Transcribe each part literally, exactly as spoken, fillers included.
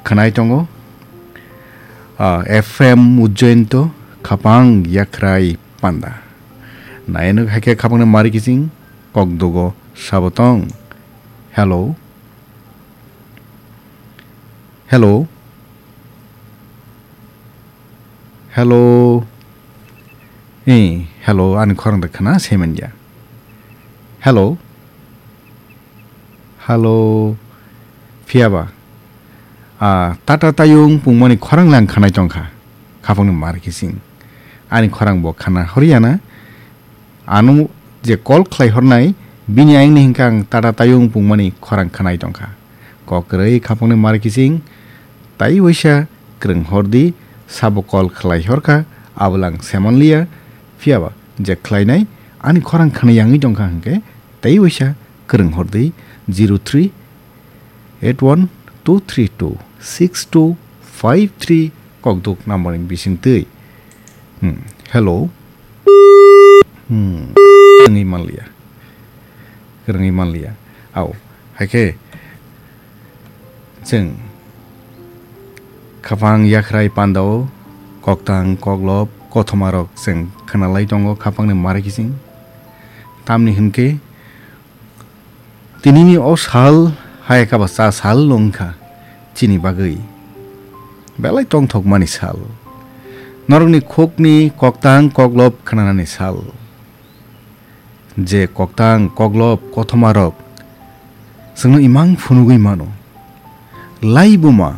khwnai tongo. Ah, F M Ujjainto, Khapang Yakhrai Panda. Nainwk hai khe khapangni mari kising, kokdugo sabo tong. Hello. Hello. Hello. Eh, hello, ani khorang da khna semen ya. Hello. Hello. Phiya ba? Ah, Tata Tayung pungmani khorang lang khanai tongkha. Khapangni mar kising. Ani khorang bo khna horiya na. Ano je call khlai hornai, bini ayangni hinkha ang Tata Tayung pungmani khorang khanai tongkha. Kok kwrwi khapangni mar kising, tai waisa kwrwng hordi, sabo call khlai horkha, abolang semanliya, phiyaba je khlainai, ani khorang khna yangwi tongkha hinkhe, tai waisa kwrwng hordi, zero three eight one two three two six two five three kokduk number ni bisingtwi. Hmm, hello. Hmm, kwrwngwi manliya. Kwrwngwi manliya. Au, hai khe chwng khapang yakhrai pandao koktang koklop kothomarok chwng khwnalai tongo khapangni mari kising. Tamni hinkhe tinini o sal hai khe ba cha sal wngkha chini bagwi belai tongthokmani sal. Norokni khukni koktang koklop khnanani sal. Je koktang koklop kothomarok chwngno imang phunugwi mano. Laibuma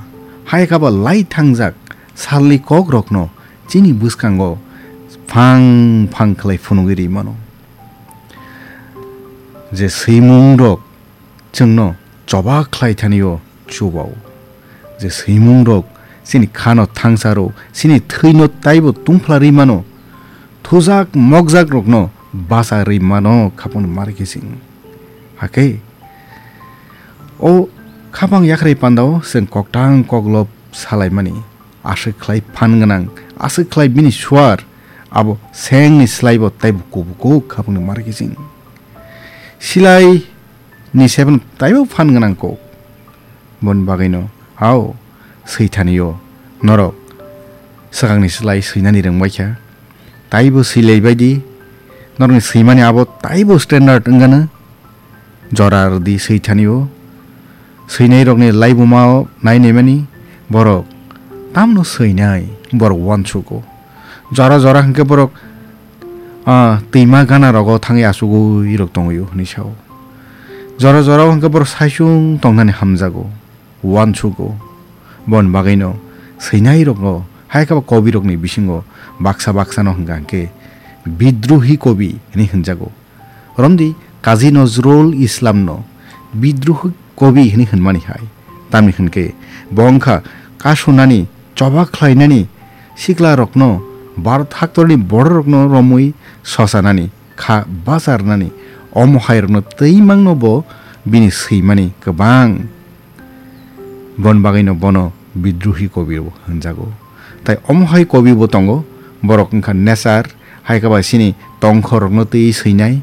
hai khe ba lai thangjak salni kokrokno chini bwskango phang phang khlai phunugwi ri mano. Je swimungrok chwngno choba khlai thani-o chubao. Je swimungrok chini khano thangsaro, chini thwino taibo tungphla ri mano. Thujak mokjak rokno bacha ri mano khapang mari kising. Hakhe o khapang yakhrai pandao chwng koktang koklop salaimani. Aswk khlai phan gwnang, aswk khlai bini suar, abo sengni slaibo taibo kubukuk khapangni mari kising. Silai ni seben taibo phan gwnang kok. Boni bagwino, hao, swithanio, norok swkangni slai swinani rwngbaikha. Taibo swilai baidi, norokni swimani abo taibo standard wngano. Jora rwdi swithanio. Swinairokni laibumao nainaimani borok tamno swinai, borok uansugo. Jora jora hwnkhe borok, ah, twima gana rogo thangwi achugwi rok tongwio hwnwi sao. Jora jora hwnkhe borok saichung tongnani hamjago, uansugo. Boni bagwino swinairokno hai khe ba kobirokni bisingo baksa baksano hwnkha hwnkhe bidrohi kobi hwnwi hwnjago. Romdi Kazi Nozrul Islamno bidrohi kobi hwnwi hwnmani hai. Tamni hwnkhe bo wngkha kasunani, choba khlainani, siklarokno Bharat haktorni bororokno romwi sosanani, kha bacharnani, omo hairokno twi mangno bo bini swimani kwbang. Bon bagwino bono bidrohi kobi bo hwnjago. Tai omo hai kobi bo tongo, borok wngkha nature, hai khe bai sini tongkhorokno twi swinai.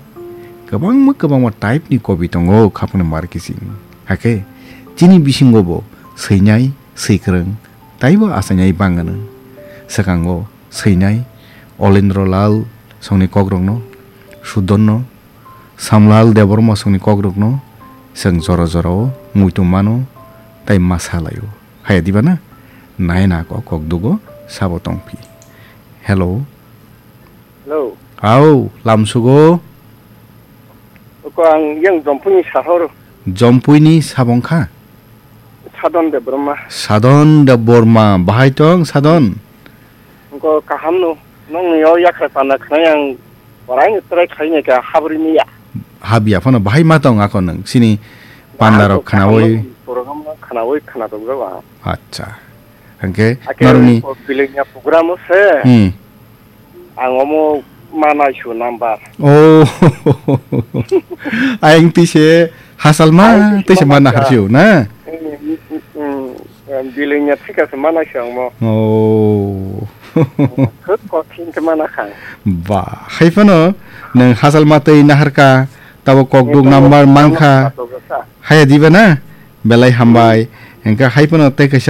Kwbangma kwbangma type ni kobi tongo khapangni mar kising. Hakhe chini bisingo bo swinai, swikwrwng, taibo achainai bangano. Swkango swinai Olendro Lal songni kokrokno, Sudonno, Samlal Debbarma songni kokrokno chwng jora jorao muitu mano tei ma salaio. Haya diba na? Nai na kok kok dugo sabo tongphi. Hello. Hello. Au, lamsugo. Oko ang yang Jompuini sahor. Jompuini sabong kha? Sadon Debbarma. Sadon Debbarma. Bahai tong Sadon? Oko kaham no. Nong ni yo yakra pana khna yang orai ni trai khai ne ka habri ni ya. Habia phano bahai ma tong ako nang. Sini pandarok khnawi. Program khnawi khna tong jawa. Acha. Hangke Ake noroni ko bilingya program se. Hmm. Ang omo manai su number. Oh. Ayang tise hasal ma tise mana harsiu na. Hmm, hmm, hmm. Bilingya thika se manai su ang mo. Oh. Khut kothin ke mana kha. Ba, hai phano nang hasal ma tei naharka tabo kokduk number mankha. Haya diba na? Belai hambai. Engka hai phano tei kaisa